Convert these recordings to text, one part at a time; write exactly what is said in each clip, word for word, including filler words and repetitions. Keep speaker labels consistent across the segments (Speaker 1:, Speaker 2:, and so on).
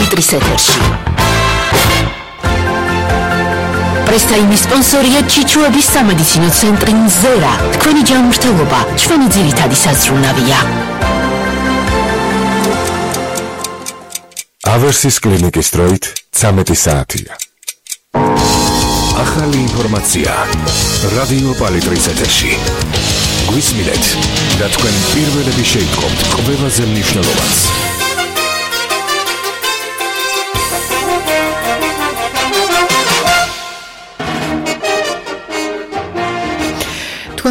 Speaker 1: პალიტრის ეთერში. პრესტაიმის სპონსორია ჩიჩუების სამედიცინო ცენტრი მზერა. თქვენი ჯანმრთელობა ჩვენი ძირითადი საზრუნავია.
Speaker 2: ავერსის კლინიკის დროით ცამეტი საათია. ახალი ინფორმაცია რადიო პალიტრის ეთერში. გვისმინეთ და თქვენ პირველები შეიტყობთ ყველაზე მნიშვნელოვანს.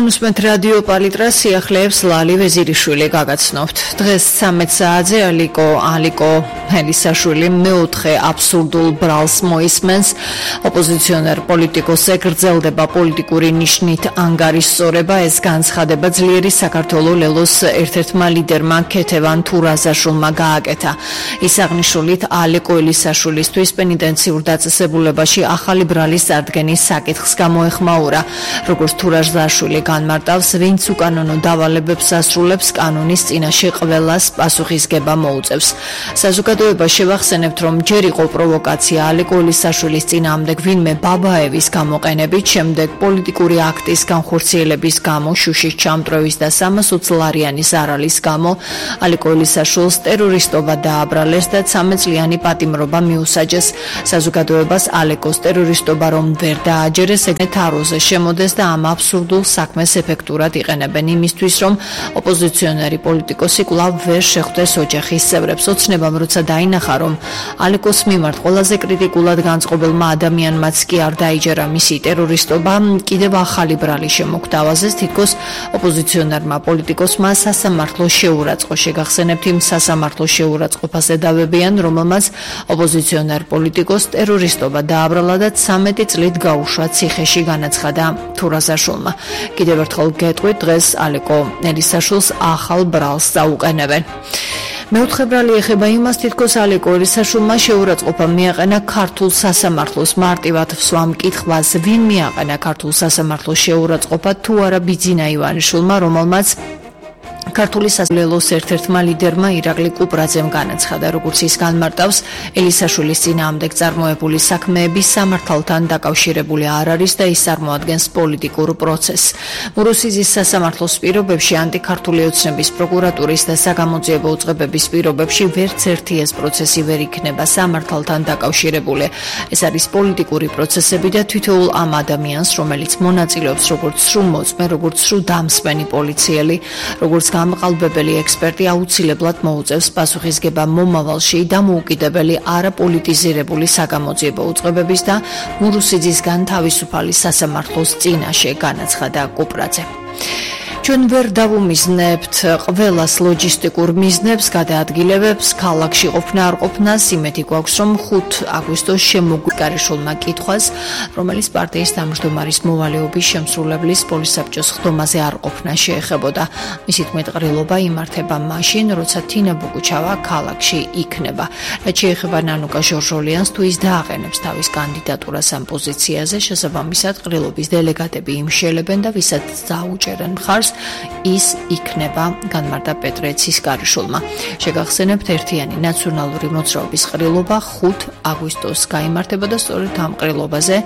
Speaker 3: Უსმენთ რადიო პალიტრას სიახლეებს ლალი ვეზირიშვილი გაგაცნობთ. დღეს ცამეტ საათზე ალიკო ალიკო ჰელისაშვილი მეოთხე აბსურდულ ბრალს მოისმენს. ოპოზიციონერ პოლიტიკოსზე გრძელდება პოლიტიკური ნიშნით ანგარიშსწორება. ეს განცხადება ძლიერი საქართველოს ლელოს ერთ-ერთმა ლიდერმა ქეთევან თურაზაშვილმა გააკეთა. ის აღნიშნულით ალიკო ჰელისაშვილისთვის პენიტენციურ დაწესებულებაში ახალი ბრალის წარდგენის საკითხს გამოეხმაურა. როგორც თურაზაშვილი განმარტავს, ვინც უკანონო დავალებებს ასრულებს, კანონის წინაშე ყველას პასუხისგება მოუწევს. საზოგადოებას შევახსენებთ, რომ ჯერ იყო პროვოკაცია ალიკო ჰელისაშვილის წინააღმდეგ ვინმე ბაბაევის გამოყენებით, შემდეგ პოლიტიკური აქტის განხორციელების გამო, შუშის ჩამტვრევის და სამასი ლარიანის არალის გამო ალიკო ჰელისაშვილს ტერორისტობა დააბრალეს და ცამეტ წლიანი პატიმრობა მიუსაჯეს. საზოგადოებას ალიკოს ტერორისტობა რომ ვერ დააჯერეს, ეგრეთ თაროზე შემოდეს და ამ აბსურდულ საქმეს ეფექტურად იყენებენ იმისთვის, რომ ოპოზიციონერი პოლიტიკოსი კვლავ ვერ შეხვდეს ოჯახის წევრებს. ოცნებამ როცა დაინახა, რომ ალიკოს მიმართ ყველაზე კრიტიკულად განწყობილმა ადამიანმაც კი არ დაიჯერა მისი ტერორისტობა, კიდევ ახალი ბრალი შემოგთავაზეს. თითქოს ოპოზიციონერმა პოლიტიკოსმა სასამართლო შეურაცხყო. შეგახსენებთ, იმ სასამართლო შეურაცხყოფას ედავებიან, რომელმაც ოპოზიციონერ პოლიტიკოს ტერორისტობა დააბრალა და ცამეტი წლით გაუშვა ციხეში, განაცხადა თურაზაშვილმა. კიდევ ერთხელ გეტყვით, დღეს ალიკო ჰელისაშვილს ახალ ბრალს წაუყენებენ. მეოთხე ბრალი ეხება იმას, თითქოს ალიკო ჰელისაშვილმა შეურაცხყოფა მიაყენა ქართულ სასამართლოს. მარტივად ვსვამ კითხვას, ვინ მიაყენა ქართულ სასამართლოს შეურაცხყოფა, თუ არა ბიძინა ივანიშვილმა, რომელმაც ქართული სასამართლოს ერთ-ერთმა ლიდერმა ირაკლი კუპრაძემ განაცხადა. როგორც ის განმარტავს, ჰელისაშვილის წინააღმდეგ წარმოებული საქმეები სამართალთან დაკავშირებული არ არის და ის წარმოადგენს პოლიტიკურ პროცესს. მურუსიძის სასამართლოს პირობებში, ანტიქართული ოცნების პროკურატურის და საგამოძიებო უწყებების პირობებში ვერც ერთი ეს პროცესი ვერ იქნება სამართალთან დაკავშირებული. ეს არის პოლიტიკური პროცესები და თითოეულ ამ ადამიანს, რომელიც მონაწილეობს როგორც სრულმოწმე, როგორც სრულდამსმენი პოლიციელი, როგორც გამყალბებელი ექსპერტი აუცილებლად მოუწევს პასუხისგება მომავალში დამოუკიდებელი არაპოლიტიზირებული საგამოძიებო უწყებების და მურუსიძისგან თავისუფალი სასამართლოს წინაშე, განაცხადა კუპრაძე. ჩვენ ვერ დავუმიზნებთ ყველას ლოჯისტიკურ მიზნებს, გადაადგილებებს, ქალაქში ყოფნა არ ყოფნას. იმედი გვაქვს, რომ ხუთი აგვისტოს შემოგვიკარიშულმა კითხვას, რომელიც პარტიის თავმჯდომარის მოვალეობის შემსრულებლის პოლისაბჭოს ხდომაზე არ ყოფნა შეეხებოდა. მისი თქმით, ყრილობა იმართება მაშინ, როცა თინა ბუგუჩავა ქალაქში იქნება. რაც შეეხება ნანუკა ჟორჟოლიანს, თუ ის დააყენებს თავის კანდიდატურას ამ პოზიციაზე, შესაბამისად ყრილობის დელეგატები იმშელებენ და ვისაც დაუჭერენ მხარს, ის იქნება, განმარტა პეტრე ცისკარიშვილმა. შეგახსენებთ, ერთიანი ნაციონალური მოძრაობის ყრილობა ხუთი აგვისტოს გაიმართება და სწორედ ამ ყრილობაზე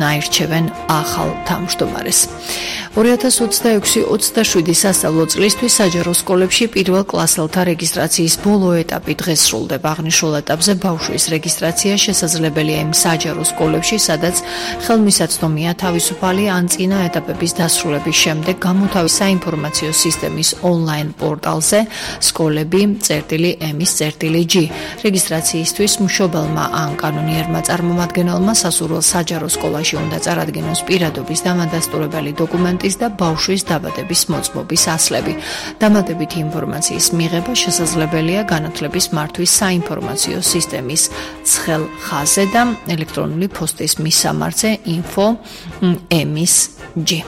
Speaker 3: აირჩევენ ახალ თავმჯდომარეს. ორი ათას ოცდაექვსი ოცდაშვიდი სასწავლო წლისთვის საჯარო სკოლებში პირველ კლასელთა რეგისტრაციის ბოლო ეტაპი დღეს სრულდება. აღნიშნულ ეტაპზე ბავშვის რეგისტრაცია შესაძლებელია იმ საჯარო სკოლებში, სადაც ხელმისაწვდომია თავისუფალი ან წინა ეტაპების დასრულების შემდეგ გამოთავის საინფორმაციო სისტემის ონლაინ პორტალზე სკოლები წერტილი ემის წერტილი ჯი. რეგისტრაციისთვის მშობელმა ან კანონიერმა წარმომადგენელმა სასურველ საჯარო სკოლაში უნდა წარადგინოს პირადობის დამადასტურებელი დოკუმენტის და ბავშვის დაბადების მოწმობის ასლები. დამატებითი ინფორმაციის მიღება შესაძლებელია განათლების მართვის საინფორმაციო სისტემის ცხელ ხაზზე და ელექტრონული პოსტის მისამართზე info ემის ჯი.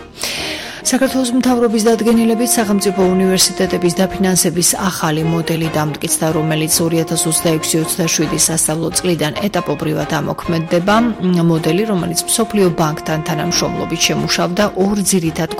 Speaker 3: საქართველოს მთავრობის დადგენილებით სახელმწიფო უნივერსიტეტების დაფინანსების ახალი მოდელი დამტკიცდა, რომელიც ორი ათას ოცდაექვსი ოცდაშვიდი სასწავლო წლიდან ეტაპობრივად ამოქმედდება. მოდელი, რომელიც მსოფლიო ბანკთან თანამშრომლობით შემუშავდა ორ ძირითად